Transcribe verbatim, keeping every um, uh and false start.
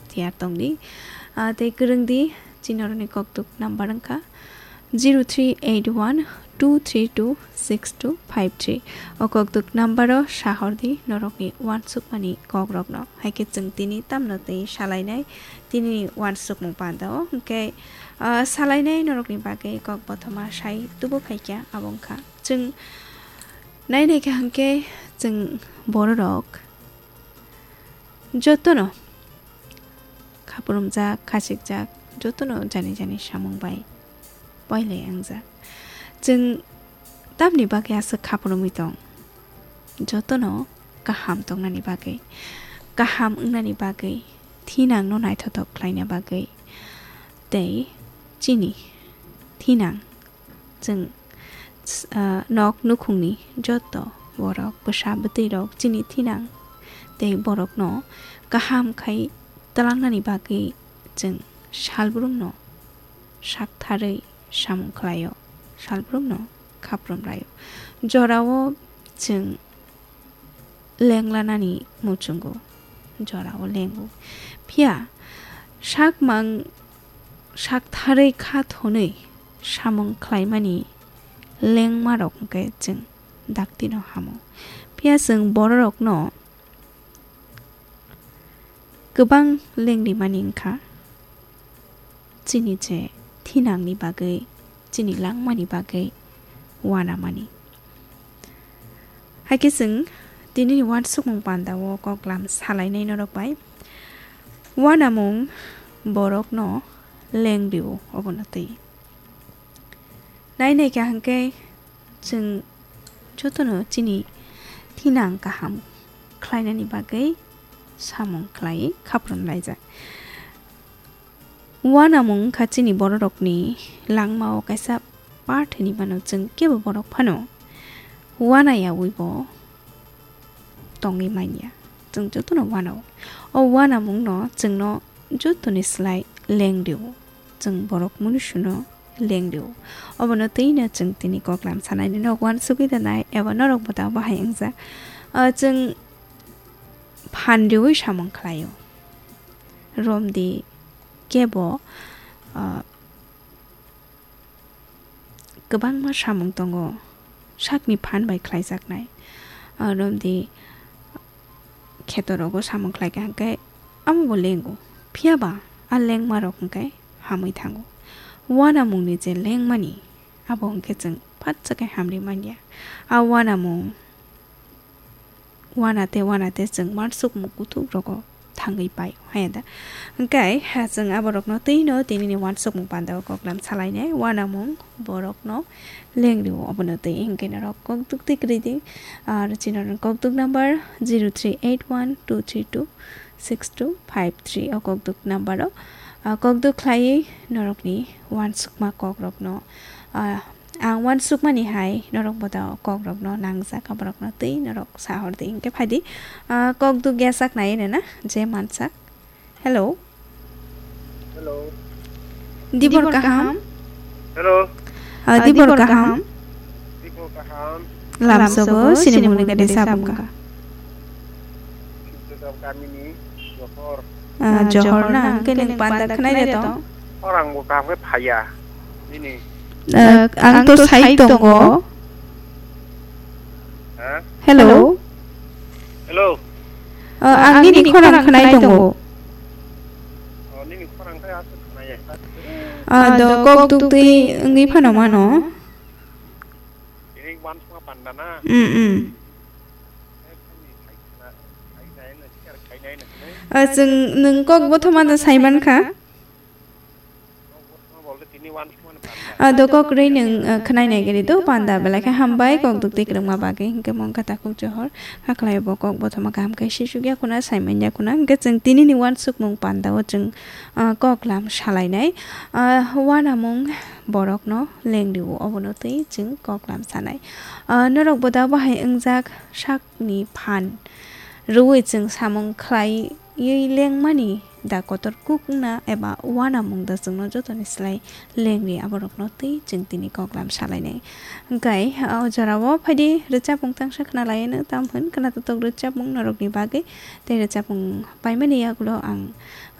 tiyar tongdi. Ah, tei kwrwngdi, chini oroni kokduk number wngkha zero three eight one two three two six two five three. O kokduk number o sahordi norokni uansukmani kokrokno. Haikhe chwng tini tamno tei salainai tini uansukmung pandao. Hwnkhe, ah, salainai norokni bagwi kok bothoma sai tubu khaikha, abo wngkha chwng nainaikha hwnkhe chwng bororok jotono khapurumjak, khasikjak, jotono jani jani samung bai poilai wngjak. Chwng tamni bagwi aswk khapurumwi tong? Jotono kaham tongnani bagwi, kaham wngnani bagwi, thinangno naithothok khlaina bagwi tei chini thinang chwng, ah, nok nukhungni joto borok, bwsa bwtwirok chini thinang tei borokno kaham khai twlangnani bagwi chwng salbrumno saktharwi samung khlaio, salbrumno khaprum laio. Jorao chwng lenglanani muchungo, jorao lengo. Phiya sakmang saktharwi kha thonwi samung khlaimani lengmarok hwnkhe chwng daktino hamo. Phiya chwng bororokno kwbang lengrimani wngkha, chini je thinangni bagwi, chini langmani bagwi uanamani. Haikhe chwng tinini uansukmung pandao koklam salainai norok bai. Uanamung borokno lengrio obono twi. Nainaikha hwnkhe chwng jotono chini thinang kaham khlainani bagwi samung khlaiwi khaprum laijak. Uanamung wngkha chini bororokni langmao kaisa part hinwi mano, chwng kebo borok phano uanayawi bo tongwi manya. Chwng jotono uanao. O uanamungno chwngno jotoni slai lengrio. Chwng borok munusuno lengrio. Obono twino chwng tini koklam sanai, nini uansugwi rwnai eba norok bo ta bahai wngjak. Ah, chwng phan riwi samung khlaio. Romdi kebo, ah, kwbangma samung tongo sakni phan bai khlaijaknai. Ah, romdi khetorogo samung khlaikha hwnkhe amo bo lengo. Phiya ba a lengmarok hwnkhe hamwi thango. Uanamungni je lengmani, abo hwnkhe chwng phatsa khe hamri manya. A uanamung uana tei uana tei chwng uansukmung kuthuk rogo thangwi pai, haya da? Hwnkhe, ha, chwng aborokno twino tinini uansukmung pandao koklam salainai, uanamung borokno lengrio obono twi, hwnkhe norok kokduk twi kwrwi di, ar chini kokduk number zero three eight one two three two six two five three o kokduk number o, ah, kokduk khlaiwi norokni uansukma kokrokno, ah, ang uansukmani hai norok boda kokrokno nangjak, aborokno twi norok sahor di. Hwnkhe phaidi, ah, kokduk yasak nai rwna je mansak. Hello. Hello. Dibor kaham? Hello. Ah, dibor kaham? Dibor kaham? Lamsogo, sini mungni gade sabung ka. Sibjagao kamini Johor. Ah, Johor na, hwnkhe nwng panda khwnai de tong? Orang bo kaham khe phaiya. Nini. Ah, ang to sai tongo. Ha? Hello. Hello. Ah, ang nini khorang khwnai tongo. Oh, nini khorang khe aswk khwnaya. Ah, do kok duk twi wngwi phano mano. Ini wan sma panda na? Mm, mm. Ah, chwng nwng kok bothoma da sai man kha. Ah, do kok rwi nwng, ah, khwnai nai gari do panda belai khe hambai kok duk twi kwrwngma bagwi, hwnkhe mong kha takhuk Johor. Hakhlai bo kok bothoma kaham khe sisuk ya khuna, sai man ya khuna, hwnkhe chwng tini ni uansukmung panda o chwng, ah, kok lam salai nai. Ah, uanamung borok no lengri o, obono twi chwng kok lam sanai. Ah, norok bo da bahai wngjak sak ni phan rwui chwng samung khlaiwi lengmani da kotor kuk wngna eba uanamung da chwngno jotoni slai lengri aborokno twi chwng tini koklam salainai. Hwnkhe o jorao phaidi rwchapmung tangsa khwnalaino, tamo hwn khwnatotok rwchapmung norokni bagwi. Tei rwchapmung paimani yagulo ang